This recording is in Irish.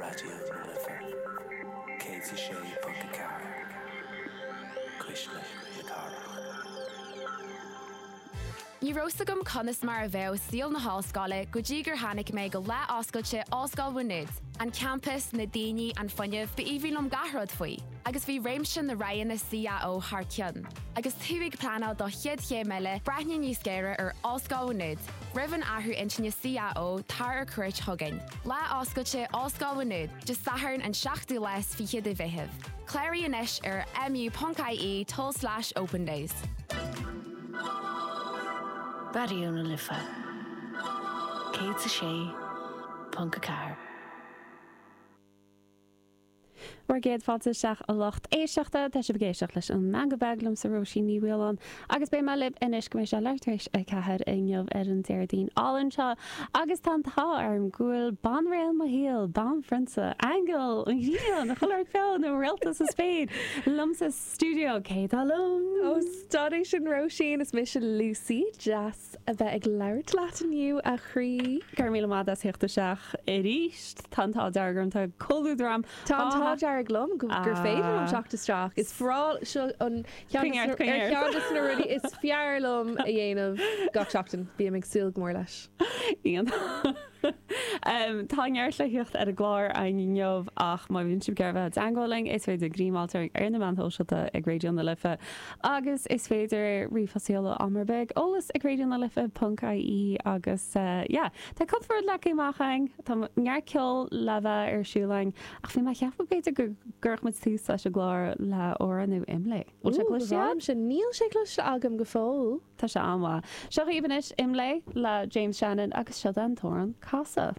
Raidió na Life 106.4, Cuisle na Cathrach. Ní raibh 's agam conas mar a bheadh saol na hollscoile go dtí gur tháinig mé go lá oscailte Ollscoil Mhá Nuad. An campas, na daoine, an fuinneamh, b'aoibhinn liom gach rud faoi. Agus bhí réimse na roghanna CAO thar cionn. Agus tú ag pleanáil do chéad chéim eile, breathnaigh níos géire ar Ollscoil Mhá Nuad. Roimh an athrú intinne CAO, tar ar cuairt chugainn. Lá oscailte Ollscoil Mhá Nuad, Dé Sathairn an seachtú lá is fiche de Mheitheamh. Cláraigh anois ar mu.ie tulslais opendays. Raidió na Life 106.4. Bhur gcéad fáilte isteach a lucht éisteachta. Tá sibh ag éisteacht leis an Meangadh Beag liomsa Róisín Ní Mhaoláin agus beidh mé libh anois go mbeidh sé leathuair tar éis 4 inniu ar an Déardaoin álainn seo agus tá an t-ádh orm go bhfuil banréal mo shaoil, banphrionsa, aingeal, an ghrian, chuile shórt beo nó réalta sa spéir liom sa stiúideo. Cé atá liom? Ó stad é sin Róisín, is mise Lucy, deas a bheith ag labhairt leat inniu, a chroí. Go raibh míle maith as theacht isteach arís. Tá an t-ádh dearg orm, tá comhluadar a'm. Tá an t-ádh dearg liom gur féidir liom teacht isteach. Is breá, seo an ceann ar cheann de na rudaí is fearr liom a dhéanamh gach seachtain. Bím ag súil go mór leis. Iontach. Tá neart le theacht ar an gclár inniu ach má bhíonn sibh ag iarraidh bheith i dteangmháil linn is féidir greamáilt ar na meáin shóisialta ag Raidió na Life agus is féidir ríomhphost a sheoladh am ar bith ag eolas ag raidionalife ponc ie agus yeah tá cúpla rud leagtha amach againn, tá neart ceoil le bheith ar siúl againn ach bhí mé ag ceapadh b'fhéidir go gcuirfeadh muid tús leis an gclár le amhrán nua Imlé. Bhfuil sé cloiste agat? Níl sé cloiste agam go fóill. Tá sé an-mhaith. Seo dhaoibh anois Imlé le James Shannon agus seo an t-amhrán Casadh.